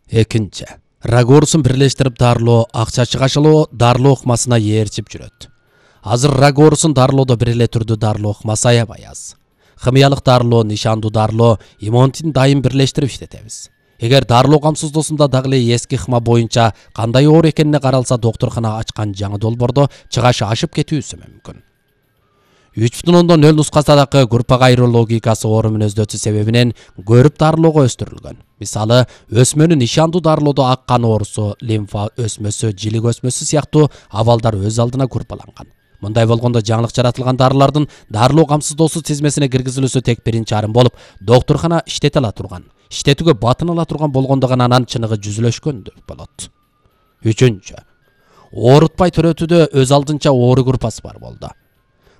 Экинчи. Рак оорусун бирлештирип дарылоо, акча чыгашылоо дарылоо ыкмасына ээрчип жүрөт. Азыр рак оорусун дарылоодо бир эле түрдүү дарылоо ыкмасы аябай аз. Химиялык дарылоо, нишандуу дарылоо, иммунитин дайым бирлештирип иштетебиз. Эгер дарылоо камсыздоосунда дагы эле эски ыкма боюнча кандай оору экенине каралса, доктуркана ачкан жаңы долбоордо чыгашы ашып кетүүсү мүмкүн. 3.0 нускасындагы группага айыруу логикасы оору мүнөздөөсү себебинен көрүп дарылоого өстүрүлгөн. Мисалы, өсмөнүн нишандуу дарылоодо ак кан оорусу, лимфа өсмөсү, жилик өсмөсү сыяктуу абалдар өз алдына группаланган. Мындай болгондо жаңылык жаратылган дарылардын дарылоо камсыздоосу тизмесине киргизилүүсү тек биринчи арым болуп, доктуркана иштете ала турган, иштетүүгө батын ала турган болгондо гана анан чыныгы жүзүлөшкөн болот. Үчүнчү. Оорутпай төрөтүүдө өз алдынча оору группасы бар болду.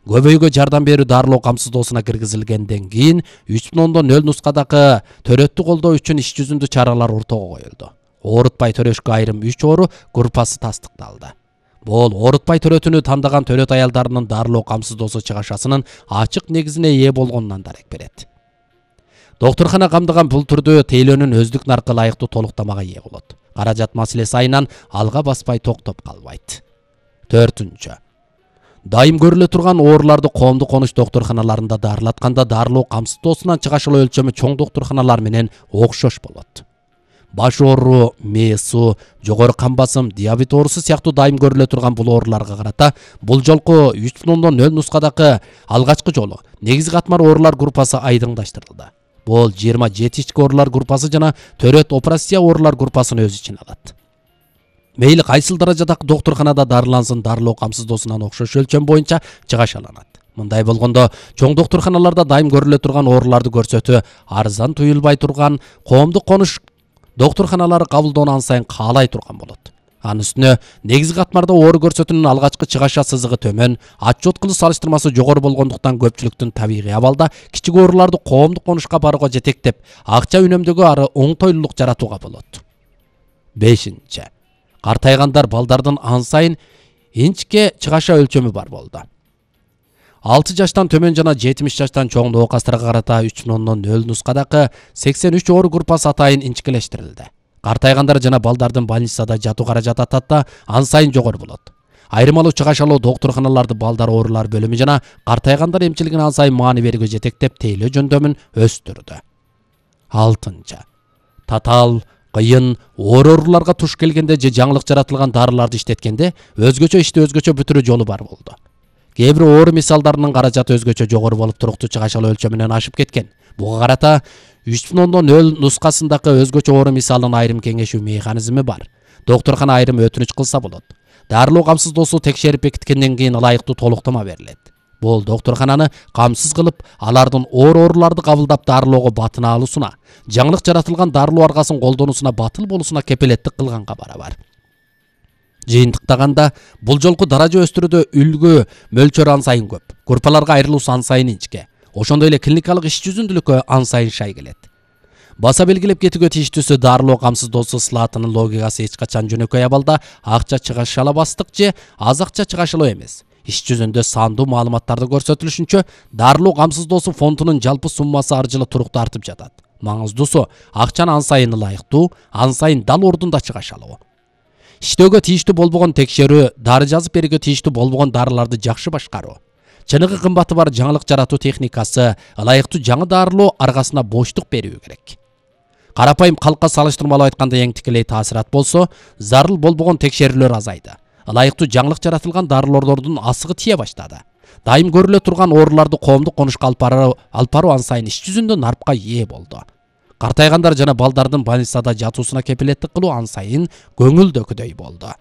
Көбөйгө жардам берүү дарылоо камсыздоосуна киргизилгенден кийин 3.0 нускадагы төрөттү колдоо үчүн иш жүзүндө чаралар ортого коюлду. Оорутпай төрөшкө айрым 3 оору группасы тастыкталды. Бул оорутпай төрөтүүнү тандаган төрөт аялдарынын дарылоо камсыздоосу чыгашасынын ачык негизине ээ болгонунан дарек берет. Доктуркана камдаган бул түрдүү тейлөөнүн өздүк наркы ылайыктуу толуктамага ээ болот. Каражат маселеси айынан алга баспай токтоп калбайт. 4. Дайым көрүлө турган ооруларды коомдук конуш доктурканаларында дарылатканда дарылоо камсыздоосунан чыгашылуу өлчөмү чоң доктурканалар менен окшош болот. Баш оору, мээ суу, жогору кан басым, диабет оорусу сыяктуу дайым көрүлө турган бул ооруларга карата бул жолку 3.0 нускадагы алгачкы жолу негизги катмар оорулар группасы айдыңдаштырылды. Бул 27 ички оорулар группасы жана төрөт операция оорулар группасын өз ичине алат. Мейли кайсыл даражадагы доктурканада дарылансын, дарылоо камсыздоосунан окшош өлчөм боюнча чыгашаланат. Мындай болгондо чоң доктурканаларда дайым көрүлө турган ооруларды көрсөтүү арзан туюлбай турган коомдук конуш доктурканалары кабылдоону ансайын каалай турган болот. Анын үстүнө негизги катмарда оору көрсөтүүнүн алгачкы чыгаша сызыгы төмөн, отчет кылуу салыштырмасы жогору болгондуктан көпчүлүктүн табигый абалда кичик ооруларды коомдук конушка барууга жетектеп, акча үнөмдөөгө ары оңтойлуулук жаратууга болот. 5. Картайгандар балдардын ансайын инчке чыгаша өлчөмү бар болду. 6 жаштан төмөн жана 70 жаштан чоң оокастарга карата 3.0 нускадагы 83 оору группасы атайын инчкелештирилди. Картайгандар жана балдардын больницада жатуу каражаты ататта ансайын жогору болот. Айырмалуу чыгашалуу доктурканаларды балдар оорулар бөлүмү жана картайгандар эмчилигине ансайын маани берүүгө жетектеп тейлөө жөндөмүн өстүрдү. 6. Татаал кыйын ооруларга туш келгенде же жаңылык жаратылган дарыларды иштеткенде өзгөчө ишти өзгөчө бүтүрүү жолу бар болду. Кээ бир оору мисалдарынын каражаты өзгөчө жогору болуп туруктуу чыгашалуу өлчөмүнөн ашып кеткен. Буга карата 3.0 нускасындагы өзгөчө оору мисалынын айрым кеңешүү механизми бар. Доктуркана айрым өтүнүч кылса болот. Дарылоо камсыздоосу текшерип бекиткенден кийин ылайыктуу толуктама берилет. Бул доктуркананы камсыз кылып, алардын ооруларды кабылдап дарылоого батын алуусуна, жаңылык жаратылган дарылоо аргасын колдонуусуна батыл болуусуна кепилеттик кылганга барабар. Жыйынтыктаганда бул жолку даража өстүрүүдө үлгү мөлчөрү ансайын көп, группаларга айрылуусу ансайын инчке, ошондой эле клиникалык иш жүзүндүүлүккө ансайын шай келет. Баса белгилеп кетүүгө тийиштүүсү дарылоо камсыздоосу слатынын логикасы эч качан жөнөкөй абалда акча чыгашалабастык же аз акча чыгашалоо эмес. Иш жүзүндө сандуу маалыматтарды көрсөтүлүшүнчө дарылоо камсыздоосу фондунун жалпы суммасы ар жылы туруктуу артып жатат. Маңыздуусу акчаны ансайын ылайыктуу, ансайын дал ордунда чыгашалоо. Иштөөгө тийиштүү болбогон текшерүү, дары жазып берүүгө тийиштүү болбогон дарыларды жакшы башкаруу, чыныгы кымбаты бар жаңылык жаратуу техникасы, ылайыктуу жаңы дарылоо аргасына боштук берүү керек. Карапайым калкка салыштырмалуу айтканда эң тикелей таасират болсо, зарыл болбогон текшерүүлөр азайды. Ылайыктуу жаңылык жаратылган дарылоордун асыгы тие баштады. Дайым көрүлө турган ооруларды коомдук конушка алып баруу ансайын иш жүзүндө нарпка ээ болду. Картайгандар жана балдардын больницада жатуусуна кепилеттик кылуу ансайын көңүлдөгүдөй болду.